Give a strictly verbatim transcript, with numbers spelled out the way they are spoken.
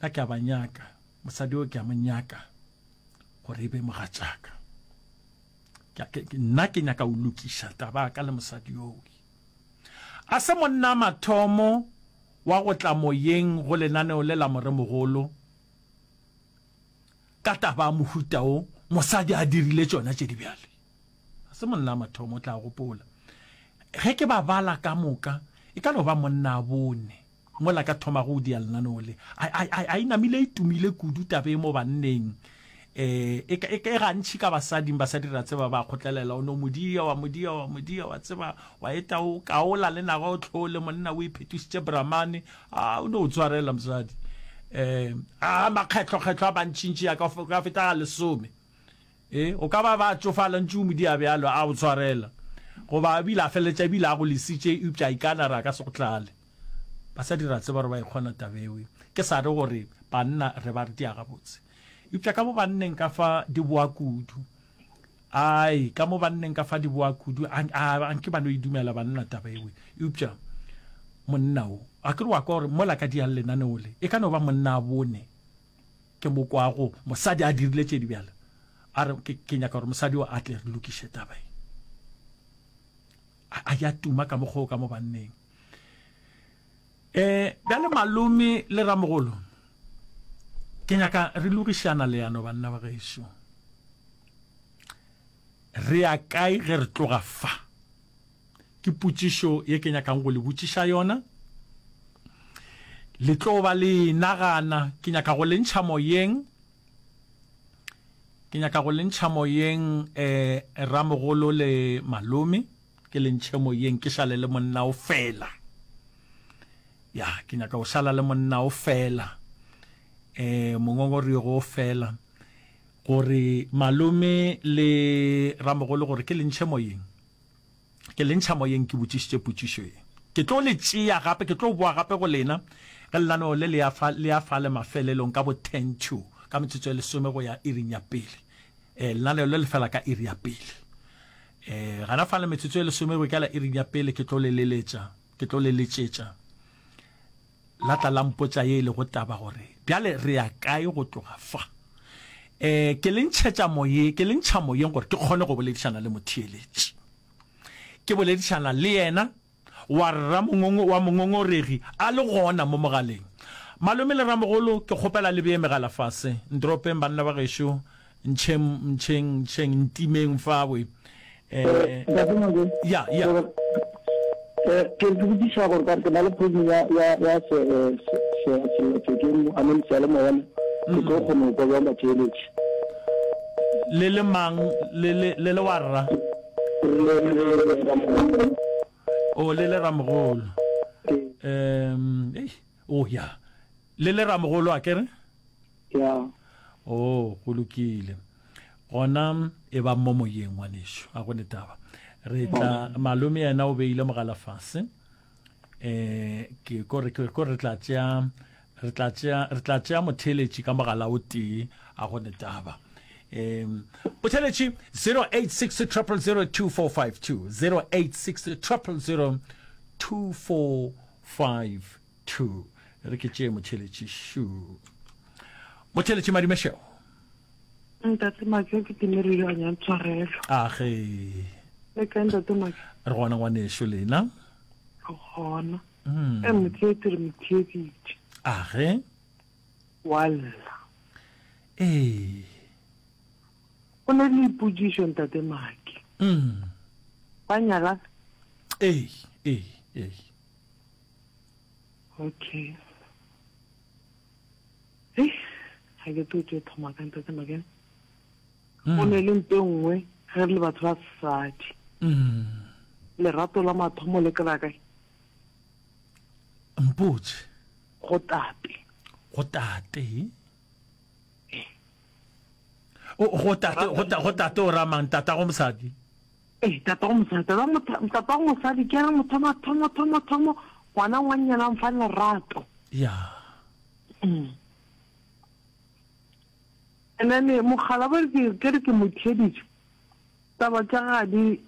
Nna ke a ba nyaka, mosadi yo ke a mo nyaka gore e be mogatšaka. Ke, ke, nna ke nyaka o lokiša taba ka le mosadi yowe. A se monna mathomo wa go tla moyeng go lenaneo le la moremogolo ka taba ya mohuta wo mosadi a dirile tšona tše di bjale. A se monna mathomo, o tla gopola. Ge ke ba bala ka moka, e ka no ba monna a bone mola ka thoma go dia lenaneo le. A, a, a, a e namile e tumile kudu taba e mo banneng. Eh, e, e, e gantši ka basading, basadi re a tseba ba kgotlelela, o no modia, wa modia, wa modia, wa tseba, wa eta o kaola le naga o tlhole, monna o iphetošitše Brahmane, a o no o tshwarela mosadi. Eh, a makgetlho-kgetlho a bantšintši a ka ka feta ga lesome. Eh, o ka ba ba tšofala ntše o modia bjalo, a o tshwarela. Goba ebile a feleletša ebile a go lesitše, eupša a ikana re a ka se go tlale. Basadi re a tseba gore ba e kgona taba eo. Ke sa re gore banna re ba re dia gabotse. Eupša ka mo banneng ka fa di boa kudu. Ai, ka mo banneng ka fa di boa kudu, a, a, anke ba no e dumela banna taba eo. Eupša monna o, a ke re wa kwa gore mola ka diang lenaneo le, e ka no ba monna a bone ke mo kwago mosadi a dirile tše di bjalo. A re ke, ke nyaka gore mosadi o a tle re lokiše taba e. A, a ya tuma ka mokgwa o ka mo banneng. Eh, bjale malome le ramogolo, ke nyaka re logišana leano banna ba gešo. Re ya kae ge re tloga fa? Ke potšišo ye ke nyakang go le botšiša yona. Le tlo ba le nagana, ke nyaka go le ntšha moyeng. Ke nyaka go le ntšha moyeng eh ramogolo le malome, ke le ntšhe moyeng ke šale le monna o fela. Ya, ke nyaka go šala le monna o fela. Eh mongongorego o fela gore malome le ramogolo gore ke le ntšhe moyeng. Ke le ntšha moyeng ke botšišitše potšišo ye. Ke tlo le tšea gape, ke tlo boa gape go lena ge lenaneo le le ya fa, le ya fa le mafelelong ka bo ten to, ka metsotso e lesome go ya iring ya pele. Eh, lenaneo le le fela ka iri ya pele. Eh, gana fa le metsotso e lesome go ikela iring ya pele ke tlo le leletša, ke tlo le letšetša. La tla la mpotša ye e lego taba gore bjale re ya kae go tloga fa. Eh, ke le ntšhetša moyeng, ke le ntšha moyeng gore ke kgone go boledišana le motheeletši. Ke boledišana le yena wa ramongong wa mongongoregi a le gona mo mogaleng. Malome le ramogolo, ke kgopela le bee megala fase. Ntropeng banna ba gešo, ntšheng ntšheng ntšheng ntimeng fawe. Eh, Ntate Mabe, ya ya. eh, ke ke botšiša gore ka re ke na le phone ya ya ya se eh, se se sellathekeng I mean seyalemoya mo ke tlo kgona go kwa bjang batheeletši. Le le mang le le le le wa rra? Le le ramogolo. O le le ramogolo. Um, ei, oh ya. Le le ramogolo a kere? Ya. Oh, go lokile. Gona e ba mo moyeng ngwanešu, a go ne taba. Re tla malome yena o beile mogala fase. Eh, ke ko re ko re tla tšea re tla tšea re tla tšea motheeletši ka mogala o tee, a go ne taba. Um motheeletši zero eight six triple zero two four five two, zero eight six triple zero two four five two. Re ke tšee motheeletši šu. Motheeletši Madimešego. Ntate Make, ke timerile a nyang tshwarelo. A ge. Le kae ntate Make? Re gona ngwanešu lena. Re gona. Mm. E motheetsi re motheeditše. A ge. Wa lla. Ee. Go na le dipotšišo ntate Make. Mm. Ba nyalana? Ee, ee, ee. Okay. Hei, ga ke tlo tšo thoma ka ntate Make. Go ne le nto e nngwe ge re le batho ba sesadi. Mm. Lerato la mathomo le kry-a kae? Mpotše. Go tate. Go tate. O go tate, go ta, go tate o ramang tata go mosadi. Ee, tata go mosadi, tata motho, tata go mosadi ke re motho mathomo thomo thomo ngwana ngwannyana mfa lerato. Ya. Mm. And then mogala ba ke ke re ke mo theeditše. Taba tša ga di